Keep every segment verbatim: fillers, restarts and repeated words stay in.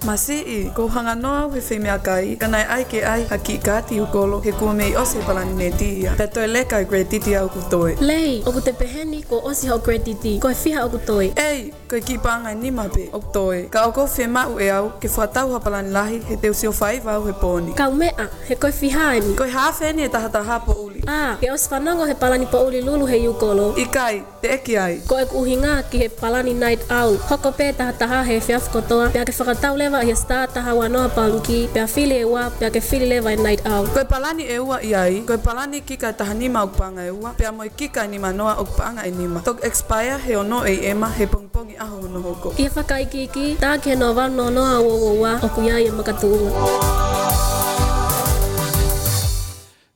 Masiʻi, ʻoku ou hanganoa au he feimeʻakai, ka naʻe ʻai ke ʻai ha kiʻi kaati ʻūkolo he kuo mei ʻosi e palani neti ia. Pea toe leka e credit ia ʻoku toe. Lei, ʻoku te pehē ni kuo ʻosi hoʻo credit, ko e fiha ʻoku toe? ʻEi, ko e kiʻi paʻanga ʻe nima pē ʻoku toe. Ka ʻoku ou fiemaʻu ʻe au ke fakatau ha palani lahi he te u sio faiva au he pō ni. Kaumeʻa, he ko e fiha eni? Ko e hafe eni e taha taha poʻuli. ʻĀ, ke ʻosi fanongo he palani poʻuli lulu he ʻūkolo. ʻIkai, teʻeki ai. Ko ʻeku ʻuhinga ki he palani night out. Hoko pē taha taha he efiafi kotoa, pea ke fakatau leva ʻi he star taha ua noa pāliki, pea fili e ua, pea ke fili leva e night out. Ko e palani ʻe ua ʻi ai, ko e palani kika ʻe taha nima ʻoku paʻanga ʻe ua, pea mo e kika ʻe nima noa ʻoku paʻanga ʻe nima. Toki expire he ono ʻe ema he pongipongi ʻaho hono hoko. ʻI he fakaikiiki, tā ki he noa valu noa noa ua ua ua, ʻoku ʻi ai e makatuʻunga.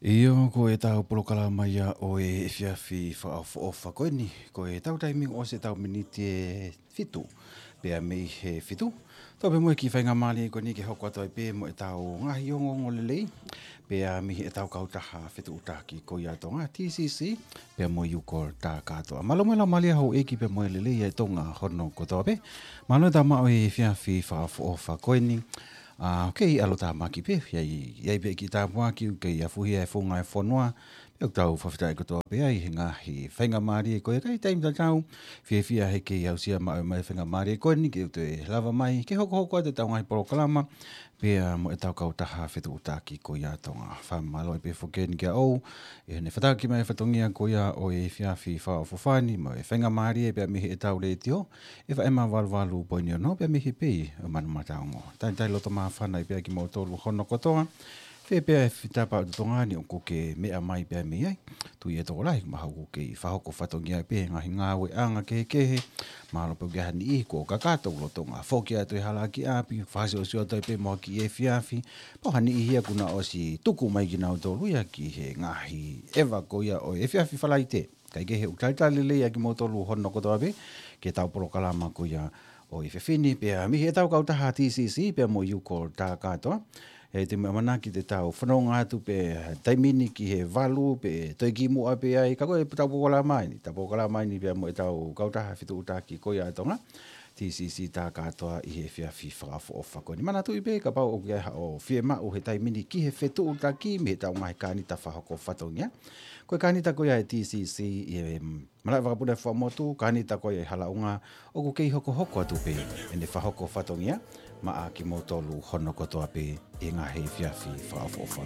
ʻIo, ko ʻetau polokalama ia ʻo e efiafi fakaʻofoʻofa ko eni, ko ʻetau taimi ʻosi ʻetau miniti ʻe fitu, pea mei he fitu. Tau pē mo e kiʻi faingamālie ko eni ke hoko atu ai pē mo ʻetau ngaahi ongoongo lelei, pea mei heʻetau kautaha fetuʻutaki ko ia Tonga, T C C, pea mo e ʻūkolo tā kātoa. Mālō mo e laumālie houʻeiki pea mo e lelei ʻa e Tonga hono kotoa pē. Mālō e tau maʻu e efiafi fakaʻofoʻofa ko eni. ʻA, ʻoku kei ʻalotāmaki pē, ʻi ai, ʻi ai pē kiʻi tāpuaki, ʻoku kei afuhia e funga e fonua, pea ʻoku tau fakafetaʻi kotoa pē ai he ngaahi faingamālie ko ia, ka ʻi he taimi tatau, fiefia he kei aʻusia maʻu mai e faingamālie ko eni ke u toe lava mai ke hokohoko atu ʻetau ngaahi polokalama, pea mo ʻetau kautaha fetuʻutaki ko ia Tonga. Fakamālō ai pē foki eni kia ʻOu, ʻi heʻene fakatakiʻi mai e fatongia ko ia ʻo e efiafi fakaʻofoʻofa ni, mo e faingamālie pea mei heʻetau letiō, F M valu valu poini ono pea mei he pei ʻo Manumataongo. Talitali loto māfana ai pē kimoutolu hono kotoa. Fē pē ʻa e fitapa ʻo Tonga ni ʻoku ke meʻa mai pea mei ai. Tui ʻe tokolahi mahalo ʻoku kei fakahoko fatongia pē ngaahi ngāueʻanga kehekehe. Mahalo pē ʻoku ʻi ai ha niʻihi kuo kakato lolotonga foki atu e hala ki ʻapi, fakasiosio atu ai pē mo ha kiʻi efiafi. Pea ha niʻihi ia kuo nau ʻosi tuku mai kinautolu ia ki he ngaahi ʻeva ko ia ʻo e efiafi Falaite. Kae kehe ʻoku talitali lelei ʻa kimoutolu hono kotoa pē ki heʻetau polokalama ko ia ʻo e efiafi ni, pea mei heʻetau kautaha T C C pea mo e ʻūkolo tā kātoa. He te u ʻamanaki te tau fanongo atu pē taimi ni ki he valu pe toe kimuʻa pē ai, ka ko ʻetau polokalama eni, ʻetau polokalama eni pea mo ʻetau kautaha fetuʻutaki ko ia Tonga, T C C tā kātoa ʻi he efiafi fakaʻofoʻofa ko eni. Manatuʻi pē kapau ʻoku ʻi ai haʻo fiemaʻu he taimi ni ki he fetuʻutaki mei heʻetau ngaahi kānita fakahoko fatongia. Ko e kānita ko ia ʻa e T C C ʻi he, mm, malaʻe vakapuna ʻo e Fuaʻamotu, kānita ko ia ʻi he halaʻunga, ʻoku kei hokohoko atu pē ʻene fakahoko fatongia maʻa kimoutolu hono kotoa pē ʻi he ngaahi efiafi fakaʻofoʻofa